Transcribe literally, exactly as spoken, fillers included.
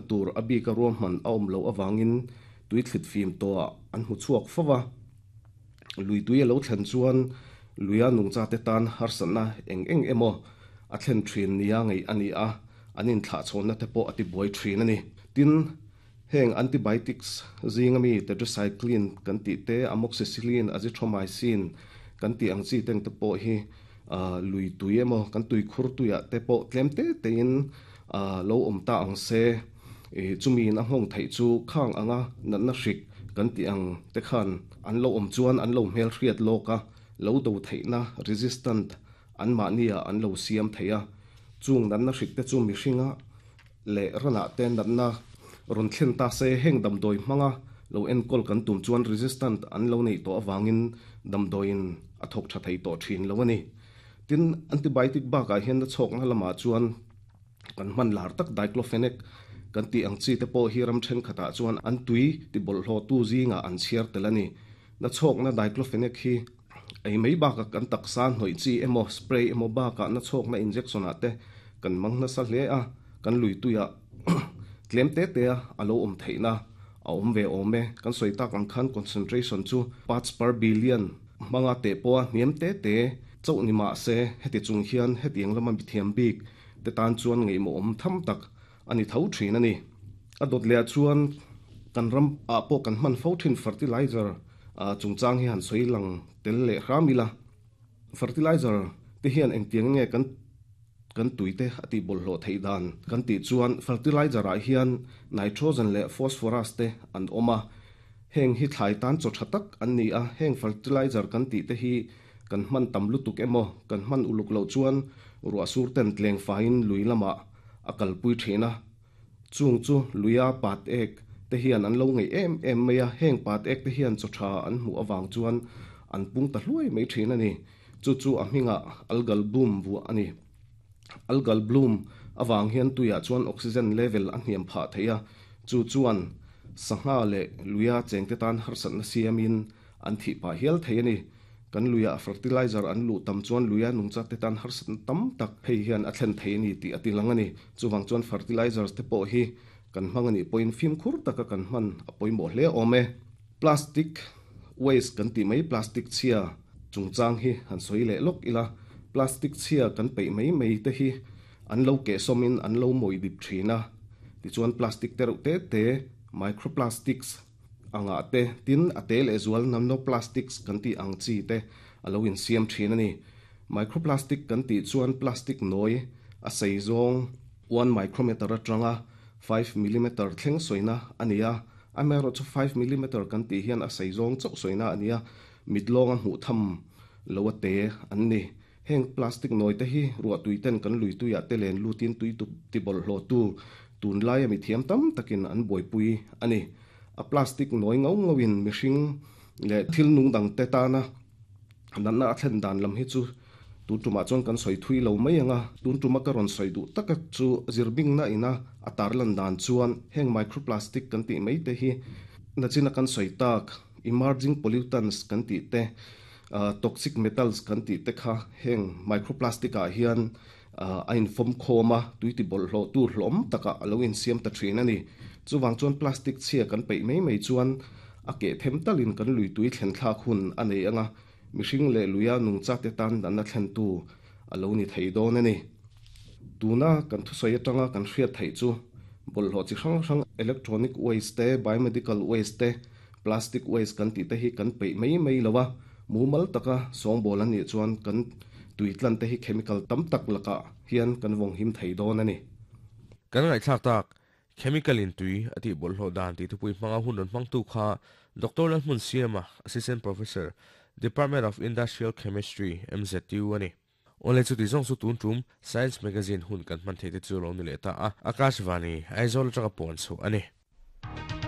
tur a bika ruahman a awm loh avangin tui thlit fim tawhah an hmu chhuak fo va. Lui tui a lo thlen chuan luia nungcha te tan harsatna eng eng emaw a thlen thin nia ngaih a ni a, an inthlahchhawnna te pawh a ti buai thin a ni. Tin, heng antibiotics zinga mi tetracycline kan tih te, amoxicillin, azithromycin kan tih ang chi teng te pawh hi lui tui emaw kan tui khur tuiah te pawh tlem te tein lo awm ta ang se. Chumiin a nghawng theih chu khang anga natna hrik kan tih ang te khan an lo awm chuan an lo hmel hriat lawk a, lo do theihna resistant an mahnia an lo siam thei a. Chung natna hrik te chu mihringa leh ranah te natna rawn thlen ta se heng damdawi hmanga lo enkawl kan tum chuan resistant an lo nei tawh avangin damdawiin a thawk tha thei tawh thin lo a ni. Tin, antibiotic bakah hian na chhawkna lamah chuan kan hman lar tak diclofenac kan tih ang chi te pawh hi ram thenkhatah chuan an tui ti bawlhhlawh tu zingah an chhiar tel a ni. Na chhawkna diclofenac hi ei mai bakah kan taksa hnawih chi emaw spray emaw bakah na chhawkna injection ah te kan mang nasa hle a, kan lui tuiah tlem te te a a lo awm theihna a awm ve awm e. Kan sawi tak ang khan concentration chu parts per billion hmanga teh pawha hniam te te chauh ni mah se heti chung hian hetiang lama mithiam bik te tan chuan ngaihmawh awm tham tak a ni tho thin a ni. A dawt lehah chuan kan ram ah pawh kan hman fo thin fertilizer chungchang hi han sawi lang tel leh hram ila. Fertilizer te hian engtiang nge kan kan tui te a tih bawlhhlawh theih dan kan tih chuan fertilizer ah hian nitrogen leh phosphorus te an awm a, heng hi thlai tan chaw tha tak an ni a. Heng fertilizer kan tih te hi kan hman tam lutuk emaw kan hman uluk loh chuan ruah sur ten tleng faiin lui lamah a kalpui thin a, chung chu luia pat ek te hian an lo ngaih em em mai a. Heng pat ek te hian chaw tha an hmuh avang chuan an pung ta hluai mai thin a ni. Chu chu a hmingah algal bloom vuah a ni. Algal bloom avang hian tuiah chuan oxygen level a hniam phah thei a, chu chuan sangha leh luia chengte tan harsatna siamin an thih pah hial thei a ni. Kan luia fertilizer an luh tam chuan luia nungcha te tan harsatna tam tak hei hian a thlen thei a ni tih a ti lang a ni. Chuvang chuan fertilizers te pawh hi kan hmang a nih pawhin fimkhur taka kan hman a pawimawh hle awm e. Plastic waste kan tih mai plastic chhia chungchang hi han sawi leh lawk ila. Plastic chhia kan peih mai mai te hi an lo keh sawmin an lo mawi dip thin a, tichuan plastic te reuh te te microplastics angah te tin a te leh zual nanoplastics kan tih ang chi te a lo insiam thin a ni. Microplastic kan tih chuan plastic nawi a sei zawng one micrometer atanga five millimeter thleng sawina a ni a, amaherawhchu chu five millimeter kan tih hian a sei zawng chauh sawina a ni a, mit lawnga hmuh tham lo a te an ni. Heng plastic nawi te hi ruah tui ten kan lui tuiah te len lutin tui ti bawlhhlawh tu tunlai a mithiam tam takin an buaipui a ni. A plastic nawi ngau ngauin mihring leh thil nung dang te tana natna a thlen dan lam hi chu tun tumah chuan kan sawi thui lo mai anga. Tun tuma ka rawn sawi duh taka chu zirbingna ina a tarlan dan chuan heng microplastic kan tih mai te hi nachina kan sawi tak emerging pollutants kan tih te, toxic metals kan tih te kha heng microplastic ah hian a infawm khawm a, tui ti bawlhhlawh tu hlawm takah a lo insiam ta thin a ni. Chuvang chuan plastic chhia kan peih mai mai chuan a keh them talin kan lui tui thlen thlak hun a nei anga, mihring leh luia nungcha te tan natna thlen tu a lo ni thei dawn a ni. Tuna kan thusawi atanga kan hriat theih chu bawlhhlawh chi hrang hrang electronic waste te, biomedical waste te, plastic waste kan tih te hi kan peih mai mai lo a, mumal taka sawngbawl an nih chuan kan tui tlan te hi chemical tam tak lakah hian kan vawng him thei dawn a ni. Kan ngaihthlak tak chemical in tui a tih bawlhhlawh dan tih thupui hmanga hun rawn hmangtu kha Doctor Lalhmun Siama, Assistant Professor, Department of Industrial Chemistry, M Z U a ni. Awle chuti zawng chu tun tum Science Magazine hun kan hman theih te chu lo ni leh ta a, Akashvani, Aizawl atanga puan chhuah a ni.